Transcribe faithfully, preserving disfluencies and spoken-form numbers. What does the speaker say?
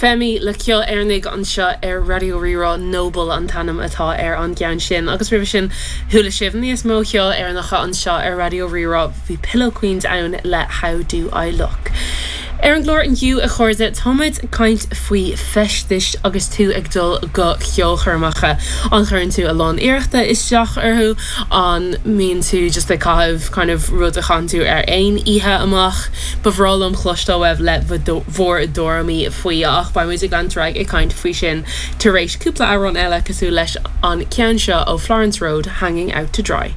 Femi le ceol Éireannach anseo ar Raidió Rí-Rá Noble an t-ainm atá ar an gceann sin agus roimhe sin chuala sibh níos mó ceol Éireannach anseo ar Raidió Rí-Rá bhí Pillow Queens ann le How Do I Look. Ar an gclár inniu a chairde táimid ag caint faoi feistis agus tú ag dul go ceolchoirmeacha an gcuireann tú a lán iarrachta isteach orthu an mbíonn tú just ag caitheamh kind of rud a chaitheann tú ar aon oíche amach Ba bhreá liom cloisteáil uaibh le bhur dtuairimí faoi ach beimid ag leanúint ag caint faoi sin tar éis cúpla amhrán eile cosúil leis an ceann seo ó Florence Road hanging out to dry.